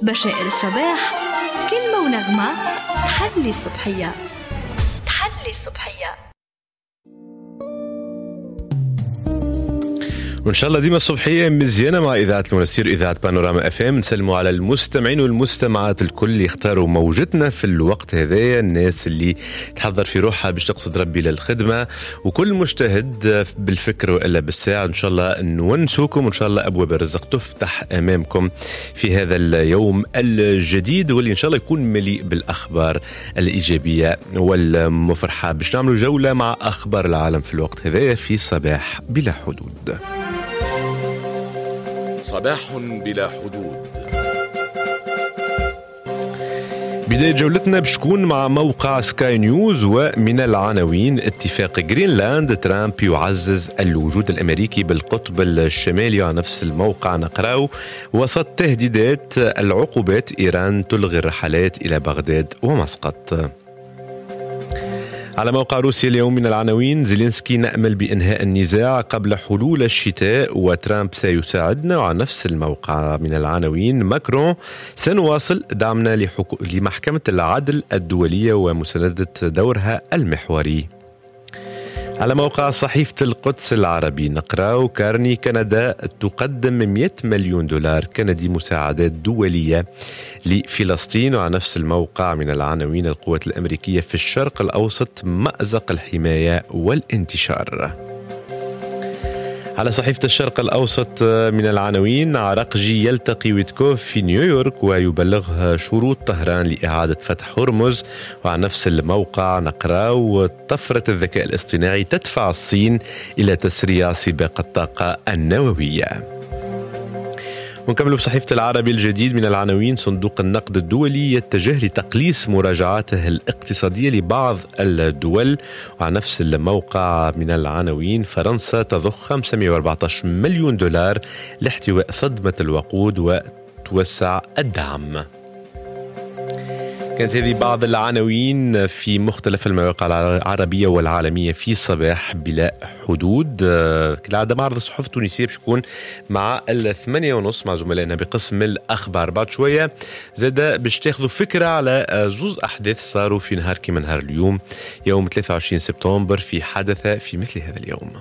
بشائر الصباح، كلمة ونغمة تحلي الصبحية، تحلي الصبحية. وان شاء الله ديما الصبحية مزيانه مع اذاعة المنستير، اذاعة بانوراما اف ام. نسلموا على المستمعين والمستمعات الكل اللي اختاروا موجتنا في الوقت هذايا، الناس اللي تحضر في روحها باش تقصد ربي للخدمة، وكل مجتهد بالفكر والا بالساعة. ان شاء الله نونسوكم، وان شاء الله ابواب الرزق تفتح امامكم في هذا اليوم الجديد، واللي ان شاء الله يكون مليء بالاخبار الايجابية والمفرحه. باش نعملوا جولة مع اخبار العالم في الوقت هذايا في صباح بلا حدود. صباح بلا حدود. بداية جولتنا باش تكون مع موقع سكاي نيوز، ومن العناوين: اتفاق جرينلاند، ترامب يعزز الوجود الأمريكي بالقطب الشمالي. وعلى نفس الموقع نقراو: وسط تهديدات العقوبات، إيران تلغي الرحلات إلى بغداد ومسقط. على موقع روسيا اليوم من العناوين: زيلينسكي نأمل بإنهاء النزاع قبل حلول الشتاء وترامب سيساعدنا. وعلى نفس الموقع من العناوين: ماكرون سنواصل دعمنا لمحكمة العدل الدولية ومساندة دورها المحوري. على موقع صحيفة القدس العربي نقرأ: كارني كندا تقدم 100 مليون دولار كندي مساعدات دولية لفلسطين. وعلى نفس الموقع من العناوين: القوات الأمريكية في الشرق الأوسط مأزق الحماية والانتشار. على صحيفة الشرق الأوسط من العناوين: عراقجي يلتقي ويتكوف في نيويورك ويبلغها شروط طهران لإعادة فتح هرمز. وعلى نفس الموقع نقرأ: طفرة الذكاء الاصطناعي تدفع الصين إلى تسريع سباق الطاقة النووية. ونكملوا بصحيفة العربي الجديد من العناوين: صندوق النقد الدولي يتجه لتقليص مراجعاته الاقتصادية لبعض الدول. وعلى نفس الموقع من العناوين: فرنسا تضخ 514 مليون دولار لاحتواء صدمة الوقود وتوسع الدعم. كانت هذه بعض العناوين في مختلف المواقع العربية والعالمية في صباح بلا حدود. كالعادة معرض الصحف التونسية باش يكون مع 8:30 مع زملائنا بقسم الأخبار. بعد شوية زادة باش تاخذوا فكرة على زوز أحداث صاروا في نهار كيما نهار اليوم، يوم 23 سبتمبر، في حدث في مثل هذا اليوم.